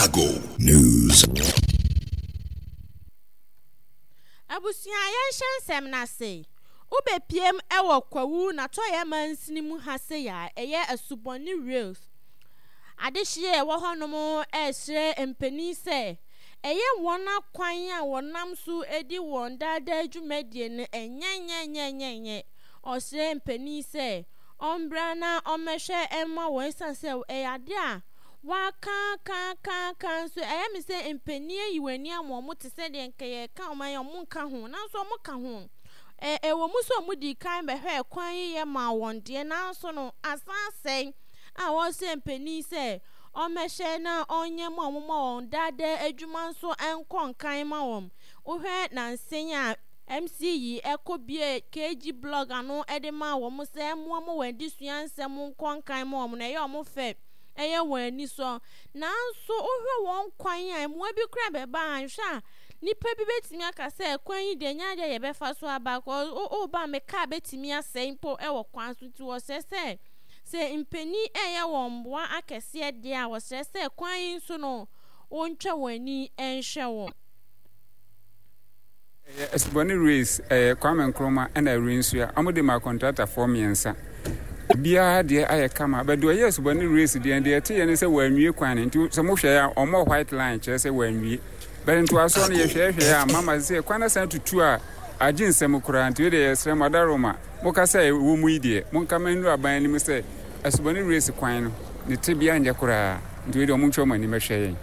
Ago News. Abusua yɛnhyɛ nsɛm no ase. Wobɛpiem wɔ Kwawu Natɔeɛ mansini mu ha sei a ɛyɛ Asubɔne Rails adehyeɛ a ɛwɔ hɔnom resrɛ mpanin sɛ ɛyɛ wɔn akwan a wɔnam so di wɔn daadaa dwumadie no nyɛnyɛnyɛnyɛnyɛ. Ɔsrɛ mpanin sɛ ɔmbra na ɔmmɛhwɛ mma wɔn ɛsiane sɛ ɛyɛ adeɛ a wɔakaakaakaaka nso ɛyɛ me sɛ mpanin ayi wɔn ani ama wɔn te sɛ deɛ nka yɛreka wɔn ayɛ wɔn nka ho nanso wɔn ka ho. Ɛ ɛwɔ mu sɛ wɔdii kan bɛhwɛɛ kwan yi yɛ maa wɔn deɛ nanso no asan asɛe a wɔresrɛ mpanin sɛ ɔmmɛhwɛ na ɔnyɛ ma wɔn ma wɔn daadaa adwuma nso nkɔ nkan ma wɔn. Wohwɛ nansa yi a MC yi kɔ bue KG blog ano de maa wɔn sɛ ɛmmoa ma wɔn adesua nsɛm nkɔ nkan ma wɔn no, ɛyɛ wɔn fɛ, ɛyɛ wɔn anisɔ. Nanso wohwɛ wɔn kwan a, mmoa bi koraa bɛba a, anhwɛ a nnipa bi bɛtumi aka sɛ kwan yi deɛ ɛnyɛ adeɛ a yɛbɛfa so aba, cause woba a me kaa bɛtumi asɛe mpo wɔ kwan so. Nti wɔsrɛ sɛ, sɛ mpanin reyɛ wɔn mmoa akɛseɛ deɛ a, wɔsrɛ sɛ kwan yi nso no, wɔntwa wɔn ani nhwɛ wɔn. Ɛyɛ Asubɔne Race, ɛyɛ Kwame Nkrumah ɛna Awurensuah. Wɔn de maa kɔntratafoɔ mmiɛnsa. Obiara deɛ ayɛ kama, but deɛ ɔyɛ Asubɔne Race deɛ, deɛ ɛteeɛ ne sɛ wɔanwie kwan no. Nti sɛ mohwɛ a, wɔmmɔɔ white line kyerɛ sɛ wɔanwie. But ntoasoɔ no yɛhwɛɛhwɛɛ a, mama sɛ kwan no asan tutu a, agye nsam koraa. Nti wei deɛ yɛsrɛ mo, Adaroma, mo kasa a ɛwɔ mu yi deɛ, monka ma ɛnnuru aban anim sɛ Asubɔne Race kwan no, ne tebea nyɛ koraa. Nti wei deɛ wɔntwa wɔn ani mmɛhwɛ yɛn.